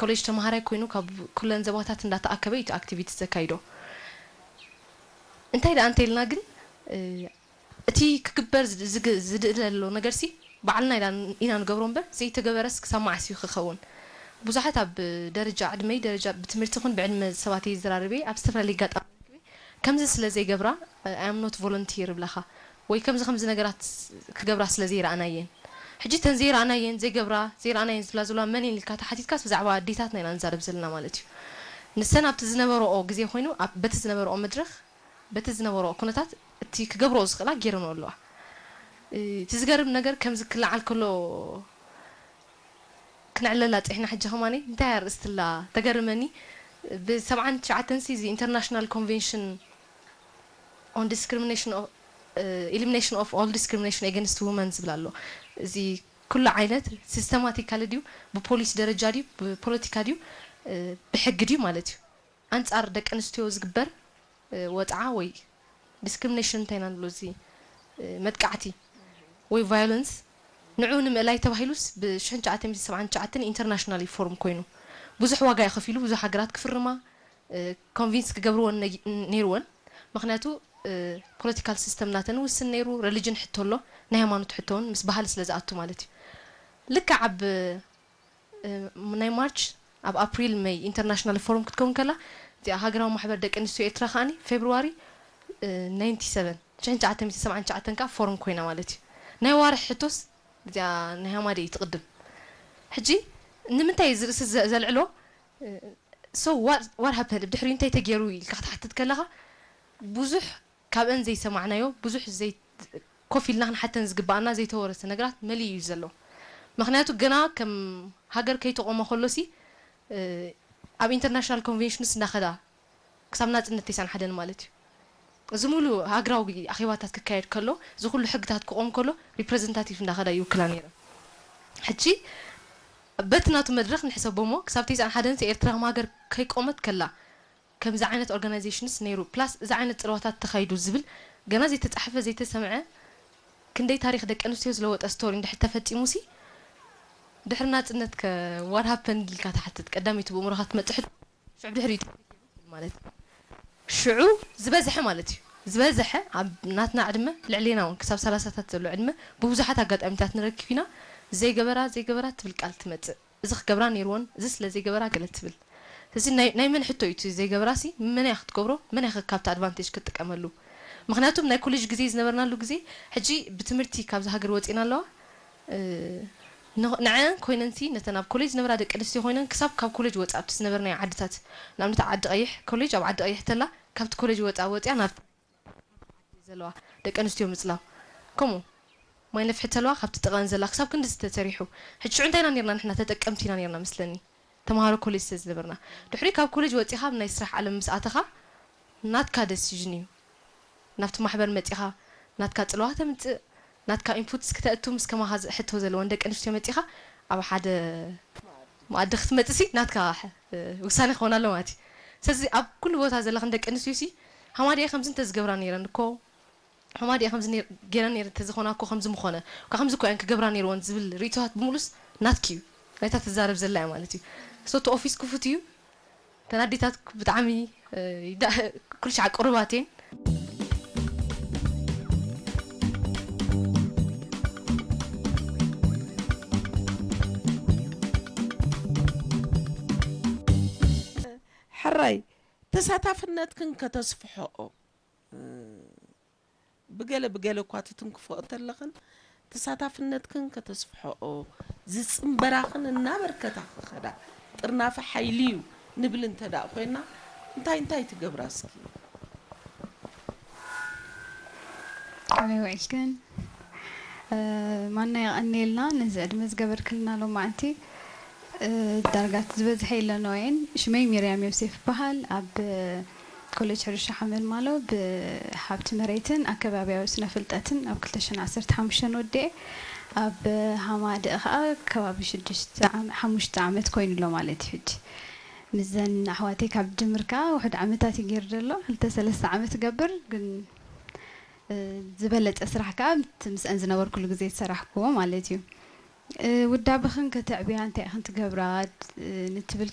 ኮሌጅ ተምሃራይ ኮይኑ ካብ ኩለን ዘባታት እንዳተኣከበ እዩ እቲ ኣክቲቪቲ ዘካይዶ። እንታይ ደኣ እንተኢልና ግን እቲ ክግበር ዝድእል ዘሎ ነገርሲ ባዕልና ኢና ንገብሮ እምበር ዘይተገበረስ ክሳብ መዓስ እዩ ክኸውን? ብዙሓት ኣብ ደረጃ ዕድመይ ደረጃ ብትምህርቲ ይኹን ብዕድመ ሰባት እየ ዝዘራርብ እየ ኣብ ዝተፈላለየ ኣጋጣሚ ከምዚ ስለ ዘይገብራ I am not volunteer ይብላኻ ወይ ከምዚ ከምዚ ነገራት ክገብራ ስለ ዘይረኣናየን ሕጂ ተን ዘይረኣናየን ዘይገብራ ዘይረኣናየን ዝብላ ዘለዋ መን እየን ኢልካ ተሓቲትካስ ብዛዕባ ኣዴታትና ኢና ንዛረብ ዘለና ማለት እዩ። ንሰን ኣብቲ ዝነበረኦ ግዜ ኮይኑ በቲ ዝነበረኦ መድረኽ በቲ ዝነበረኦ ኩነታት እቲ ክገብረኦ ዝኽእላ ገይረንኦ ኣለዋ። እቲ ዝገርም ነገር ከምዚ ክለዓል ከሎ ክነዕለላ ፂሕና ሕጂ ከማኒ እንታይ ኣርእስትላ ተገርመኒ። ብ79 ሲ እዚ International Convention on Discrimination of Elimination of All Discrimination Against Women ዝብል ኣሎ። እዚ ኩሉ ዓይነት ሲስተማቲካሊ ድዩ ብፖሊሲ ደረጃ ድዩ ብፖለቲካ ድዩ ብሕጊ ድዩ ማለት እዩ ኣንፃር ደቂ ኣንስትዮ ዝግበር ወፅዓ ወይ ዲስክሪሚኔሽን እንታይ ኢና ንብሎ እዚ መጥቃዕቲ ወይ ቫዮለንስ ንዑ ንምእላይ ተባሂሉስ ብ1979 ኢንተርናሽናል ፎርም ኮይኑ ብዙሕ ዋጋ እዩ ከፊሉ ብዙሕ ሃገራት ክፍርማ ኮንቪንስ ክገብርወን ነይርወን ምክንያቱ ፖለቲካል ሲስተም ናተን ውስን ነይሩ ረሊጅን ሕቶ ኣሎ ናይ ሃይማኖት ሕቶ እውን ምስ ባህሊ ስለ ዝኣቱ ማለት እዩ ልክዕ ኣብ ናይ ማርች ኣብ ኣፕሪል መይ ኢንተርናሽናል ፎርም ክትከውን ከላ እዚኣ ሃገራዊ ማሕበር ደቂ ኣንስትዮ ኤርትራ ከዓኒ ፌብርዋሪ 97 ሸሕን ትሽዓተ ሚእቲ ሰብዓን ትሽዓተን ከዓ ፎርም ኮይና ማለት እዩ ናይ ዋርሒ ሕቶስ እዚኣ ናይ ሃማደ እዩ ትቕድም ሕጂ ንምንታይ እዚ ርእሲ ዘልዕሎ so what happened ብድሕሪኡ እንታይ ተገይሩ ኢልካ ክትሓትት ከለኻ ብዙሕ ካብአን ዘይሰማዕናዮ ብዙሕ ዘይ ኮፍ ኢልና ክንሓተን ዝግባኣና ዘይተወረሰ ነገራት መሊኡ እዩ ዘሎ ምክንያቱ ገና ከም ሃገር ከይተቆመ ከሎሲ ኣብ ኢንተርናሽናል ኮንቬንሽንስ እንዳኸዳ ክሳብ ናፅነት ተይሳን ሓደን ማለት እዩ እዚ ሙሉ ሃገራዊ ኣኼባታት ክካየድ ከሎ እዚ ኩሉ ሕግታት ክቆም ከሎ ሪፕሬዘንታቲቭ እንዳኸዳ ይውክላ ነይረን ሕጂ በቲ ናቱ መድረክ ንሕሰቦሞ ክሳብ ተይሳን ሓደን ኤርትራ ከም ሃገር ከይቆመት ከላ ከምዚ ዓይነት ኦርጋናይዜሽንስ ነይሩ ፕላስ እዚ ዓይነት ፅልዋታት ተኻይዱ ዝብል ገና ዘይተፃሕፈ ዘይተሰምዐ ክንደይ ታሪክ ደቂ ኣንስትዮ ዝለወጠ ስቶሪ እንድሕር ተፈፂሙ ሲ ድሕሪ ናፅነት ከ what happened ኢልካ ትሓትት ቀዳመይቲ ብእምሮኻ ትመፅእ ሕቶ ሽዑ ድሕሪኡ ማለት እዩ ሽዑ ዝበዝሐ ማለት እዩ ዝበዝሐ ኣብ ናትና ዕድመ ልዕሌና እውን ክሳብ ሰላሳታት ዘሎ ዕድመ ብብዙሓት ኣጋጣሚታት ንረክብ ኢና ዘይገበራ ዘይገበራ ትብል ቃል ትመፅእ እዚ ክገብራ ነይርወን እዚ ስለ ዘይገበራ ገለ ትብል እዚ ናይ መን ሕቶ እዩ እቲ ዘይገብራ ሲ መን እያ ክትገብሮ መን እያ ካብቲ ኣድቫንቴጅ ክትጥቀመሉ ምክንያቱም ናይ ኮሌጅ ግዜ ዝነበርናሉ ግዜ ሕጂ ብትምህርቲ ካብዚ ሃገር ወፂና ኣለዋ ንዐን ኮይነን ሲ ነተን ኣብ ኮሌጅ ዝነበራ ደቂ ኣንስትዮ ኮይነን ክሳብ ካብ ኮሌጅ ወፃ ኣብቲ ዝነበርናዮ ዓድታት ንኣብነት ዓዲ ቀይሕ ኮሌጅ ኣብ ዓዲ ቀይሕ ተላ ካብቲ ኮሌጅ ወፃ ወፂያ ናብ ዘለዋ ደቂ ኣንስትዮ ምፅላው ከምኡ ማይ ነፍሒ ተለዋ ካብቲ ጥቐን ዘላ ክሳብ ክንዲ ዝተሰሪሑ ሕጂ ሽዑ እንታይ ኢና ነርና ንሕና ተጠቀምቲ ኢና ነርና መስለኒ ተምሃሮ ኮሌጅ ስለ ዝነበርና ድሕሪ ካብ ኮሌጅ ወፂኻ ኣብ ናይ ስራሕ ዓለም ምስ ኣተኻ ናትካ ደሲዥን እዩ ናብቲ ማሕበር መፂኻ ናትካ ፅልዋ ተምፅእ ናትካ ኢንፑትስ ክተእቱ ምስ ከማኻ ሕቶ ዘለወን ደቂ ኣንስትዮ መፂኻ ኣብ ሓደ መኣዲ ክትመፅእ ሲ ናትካ ውሳኔ ክኾን ኣሎ ማለት እዩ ስለዚ ኣብ ኩሉ ቦታ ዘለኽን ደቂ ኣንስትዮ ሲ ሃማዲያ ከምዚ እንተዝገብራ ነይረን እኮ ሃማዲያ ከምዚ ገይረን ነይረን እንተዝኾና እኮ ከምዚ ምኾነ እኳ ከምዚ እኮ እየን ክገብራ ነይርወን ዝብል ርእቶታት ብምሉስ ናትኪ እዩ ናይታ ትዛረብ ዘላ እያ ማለት እዩ so እቲ ኦፊስ ክፉት እዩ ተን ኣዴታት ብጣዕሚ ኩሉ ሻዕ ቅሩባት እየን ሕራይ ተሳታፍነትክን ከተስፍሐኦ ብገለ ብገለ እኳ ትትንክፎ እንተለኽን ተሳታፍነትክን ከተስፍሐኦ ዝፅንበራኽን እናበርከታ ክኸዳ ጥርናፈ ሓይሊ እዩ ንብል እንተ ደኣ ኮይና እንታይ እንታይ ትገብራ እስኪ? ከመይ ውዒልክን? ማና የቐንየልና ነዚ ዕድመ ዝገበርክልና ሎማዕንቲ ዳርጋ እቲ ዝበዝሐ የለንኦየን ሽመይ ሚርያም ዮሴፍ ይበሃል ኣብ ኮሌጅ ሕርሻ ሓመልማሎ ብሓብቲ መሬትን ኣከባቢያዊ ስነ ፍልጠትን ኣብ ክልተ ሽሕን ዓሰርተ ሓሙሽተን ወዲኤ ኣብ ሃማደእ ከዓ ከባቢ ሽዱሽተ ዓመ- ሓሙሽተ ዓመት ኮይኑ ኣሎ ማለት እዩ ሕጂ ምስዘን ኣሕዋተይ ካብ ጅምር ከዓ ውሕድ ዓመታት እዩ ገይሩ ዘሎ ክልተ ሰለስተ ዓመት ገብር ግን ዝበለፀ ስራሕ ከዓ እቲ ምስአን ዝነበርኩሉ ግዜ ዝሰራሕክዎ ማለት እዩ ውዳበኽን ከተዕብያ እንታይ ኢኽን ትገብራ ንትብል